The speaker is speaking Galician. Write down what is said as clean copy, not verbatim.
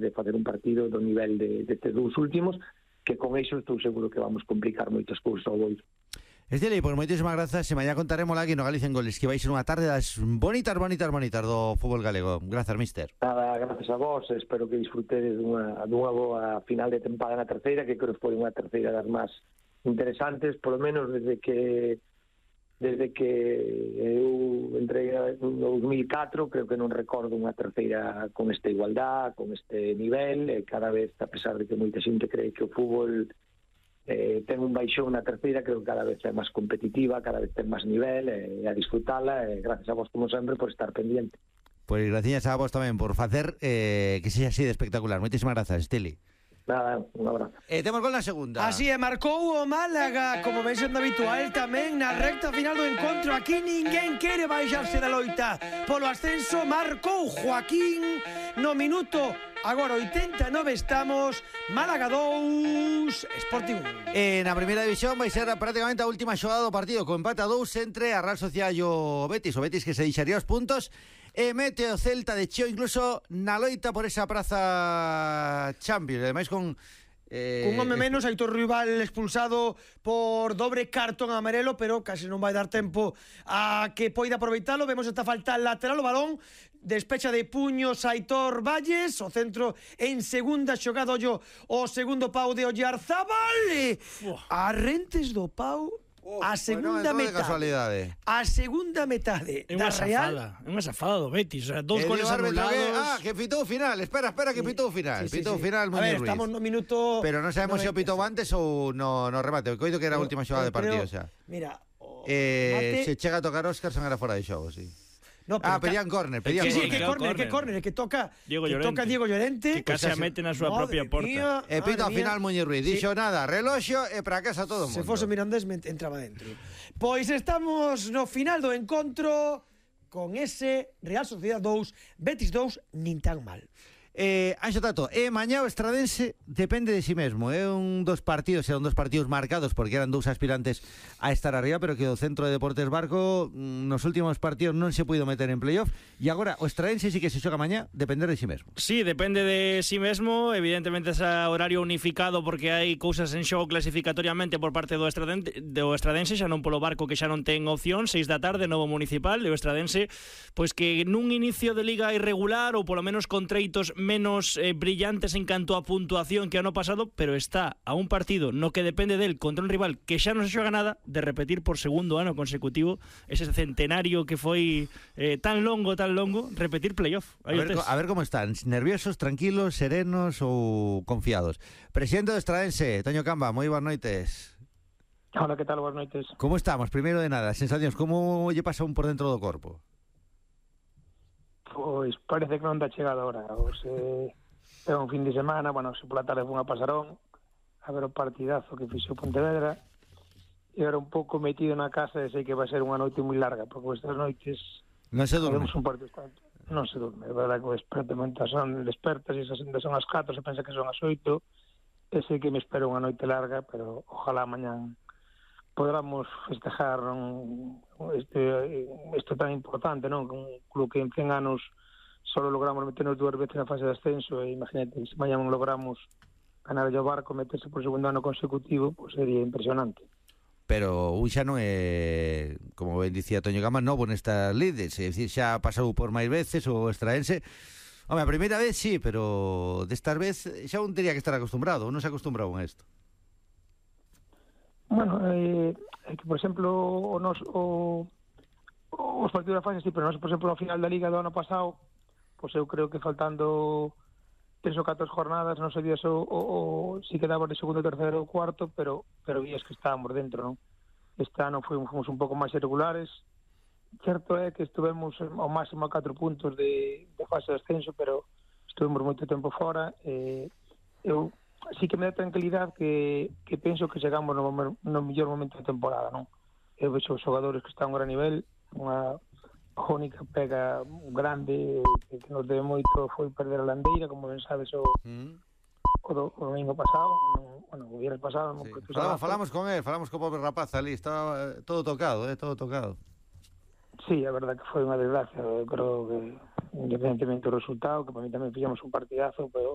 de facer un partido do nivel destes dous últimos, que con iso estou seguro que vamos complicar moitas cousas ao Boiro. Esteli, pois moitísimas grazas, e mañá contaremos aquí no Galicia en Goles que vais ser unha tarde das bonitas do fútbol galego. Grazas, mister. Nada, gracias a vos, espero que disfrutedes dunha boa final de tempada na terceira, que creo que foi unha terceira das máis interesantes, polo menos desde que eu entrei no 2004, creo que non recordo unha terceira con esta igualdad, con este nivel, e cada vez, a pesar de que moita xente cree que o fútbol ten un baixón na terceira, creo que cada vez é máis competitiva, cada vez ten máis nivel, e a disfrutala, e gracias a vos como sempre por estar pendiente. Pois gracias a vos tamén por facer que sexa así de espectacular. Moitísimas grazas, Esteli. Nada, un abrazo. Temos gol na segunda. Así é, marcou o Málaga, como ven sendo habitual tamén na recta final do encontro. Aquí ninguén quere baixarse da loita polo ascenso. Marcou Joaquín no minuto agora 89 estamos. Málaga 2, Sporting 1. Na primeira división vai ser prácticamente a última xogada do partido, con empate a 2 entre a Real Sociedad e o Betis que se deixaría os puntos, e mete o Celta de Cheo incluso na loita por esa praza Champions, ademais con un home menos, Aitor Rival expulsado por dobre cartón amarelo, pero casi non vai dar tempo a que poida aproveitalo. Vemos esta falta lateral, o balón despecha de puños Aitor Valles, o centro en segunda xogada, o segundo pau de Oyarzábal, a rentes do pau. A segunda metade. A segunda metade da Real. É unha safada do Betis, dous goles anulados. Que pitou o final. Espera que pitou o final. Pitou o final moi Ruiz. Estamos no minuto. Pero non sabemos se o pitou antes ou no remate. Coido que era a última xogada de partido, xa. Mira, se chega a tocar Óscar son era fora de xogo, sí. No, pedían córner, que toca Diego Llorente, que case a mete na súa propia porta. E pito ao final Muñoz Ruiz, dixo nada, reloxo e para casa todo o mundo. Se fose Mirandés entraba dentro. Pois estamos no final do encontro con ese Real Sociedad 2, Betis 2, nin tan mal. Anxo Tato, mañá o Estradense depende de si mesmo. Eran dos partidos marcados porque eran dous aspirantes a estar arriba, pero que o Centro de Deportes Barco nos últimos partidos non se puido meter en playoff, e agora o Estradense sí que se xoga mañá depender de si mesmo. Sí, depende de si mesmo. Evidentemente é horario unificado porque hai cousas en xogo clasificatoriamente por parte do Estradense, xa non polo Barco, que xa non ten opción. 6 da tarde, novo municipal, e o Estradense pois que nun inicio de liga irregular, ou polo menos con treitos menos brillantes en canto a puntuación que ano pasado, pero está a un partido no que depende del contra un rival que xa non se xoga nada de repetir por segundo ano consecutivo ese centenario que foi tan longo, repetir playoff. A ver como están, nerviosos, tranquilos, serenos ou confiados. Presidente do Estradense, Toño Camba, moi boas noites. Hola, que tal? Boas noites. Como estamos? Primeiro de nada, sensacións, como lle pasa un por dentro do corpo? Pois parece que non dá chegada ahora. É un fin de semana, se pola tarde fun a Pasarón a ver o partidazo que fixo Pontevedra, e era un pouco metido na casa e sei que vai ser unha noite moi larga, porque estas noites non se durme. Non se durme, é verdade que o despertamento son despertas e son as 4, se pensa que son as 8, e sei que me espero unha noite larga, pero ojalá mañán podamos festejar isto tan importante, non? Un club que en 100 anos só logramos meternos 2 veces na fase de ascenso, e imagínate, se mañá non logramos ganar o Barco, meterse por segundo ano consecutivo, pois sería impresionante. Pero un xa non é, como ben dicía Toño Gama, novo nestas lides, é dicir, xa pasou por máis veces o Estradense. Home, a primeira vez sí, pero destas vez xa un teria que estar acostumbrado, non se acostumbraba a isto. Bueno, é que, por exemplo, os partidos da fase, sí, pero nós, por exemplo, ao final da Liga do ano pasado, pois eu creo que faltando 3 ou 4 jornadas, non sabías si quedaba de segundo, terceiro ou cuarto, pero vías que estábamos dentro, non? Este ano fomos un pouco máis irregulares. Certo é que estuvemos ao máximo a 4 puntos de fase de ascenso, pero estuvemos moito tempo fora. Eu sí que me dá tranquilidade que penso que chegamos no mellor momento da temporada, non? Eu vexo os xogadores que están a gran nivel, unha única pega grande que nos debe moito foi perder a Landeira, como ben sabes o domingo pasado, o viernes pasado. Sí. Falamos con él, falamos co pobre rapaz ali, estaba todo tocado, todo tocado. Sí, a verdad que foi unha desgracia. Eu creo que independentemente do resultado, que para mí tamén fixamos un partidazo, pero